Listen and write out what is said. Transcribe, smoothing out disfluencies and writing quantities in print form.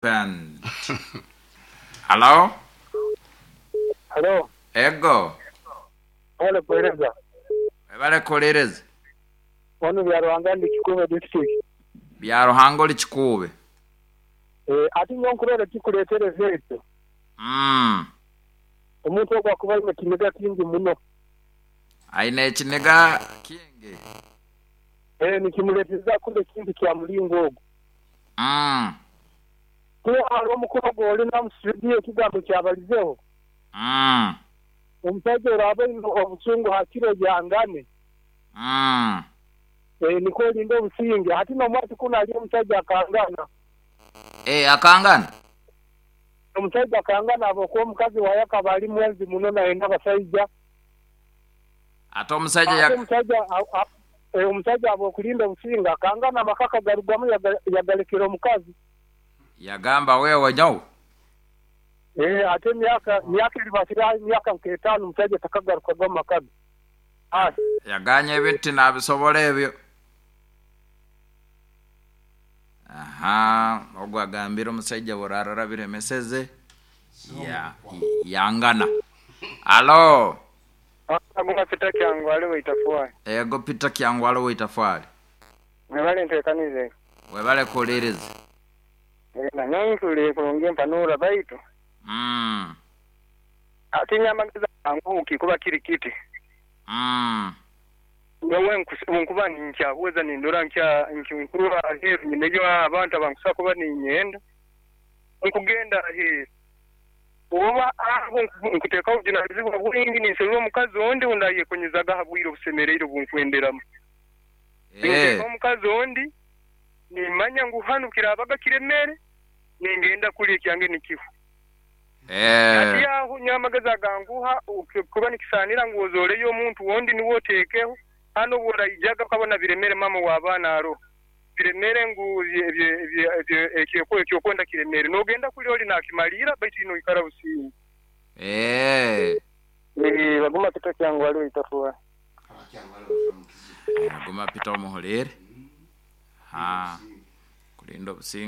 Band. Halo? Halo, Ego. webale kuweereza. Webale kuwuliriza. Wanu Byaruhanga ndi Kikuube district. Byaruhanga oli Kikuube. Ati nyowe nkurora ekikuleetereza ekyo, omuntu ogu akuba aine ekiniga kingi muno. Aine ekiniga kingi. Nikimuleetereza kukora ekintu kya mulingo ogu. Kuba hariho omukuru ogu olina omu studio ekigambo ekyabalizeho, omusaija oraaba oine obusungu hakire oyangane. Nikwo olinde obusinge. Hati n'omwati kunu hariyo omusaija akangana. Akangana? Omusaija akangana habwokuba omukazi waye akaba ali mwenzi muno nayenda abasaija. Ate omusaija Ate omusaija habw'okulinda obusinge akangana amaka akagarugamu yagalekera omukazi. Yagamba wewe nyowe. Ate emyaka myaka eribasire aho emyaka nk'etaano omusaija takagarukaga omu maka ge. Yaganya ebintu tinabisobora ebyo. Aha, ogu agambire omusaija bw'orarora biremeseze ya yangana. Alo. Aguma Peter Kyangwali Waitafwali. Ego Peter Kyangwali Waitafwali. Mwebale nteekaniza egi. Webale kuwuliriza. Nanyowe ntuliire kurungi empanura baitu. Ati nyowe amagezi aganguhi kuba kiri kiti. Nyowe bwenkuba ninkyahweza nindora nkurora aheeru nyineyo abantu abankusobola kuba ninyenda, nkugenda aheeru. Oba aho nkuteekaho obujunanizibwa bwingi ninserura omukazi ondi ou ndayekonyezaga ha bwire obusemereire obu nkwenderamu. Ninteekaho omukazi ondi, nimanya ngu hanu kiraabaga kiremere, ningenda kuli ekyange nikihwa. Hati aho nyowe amagezi aganguha kuba nikisaanira ngu ozooleyo omuntu ondi niwe oteekeho, hanu obu oraijaga okabona biremere maama w'abaana aroho. Biremere ngu eky'okwenda kiremere. Noogenda kuli oli naakimaliira baitu iwe noikara businge. Baguma Peter Kyangwali Waitafwali. Guma Peter omuhuliire. Kulinda obusinge.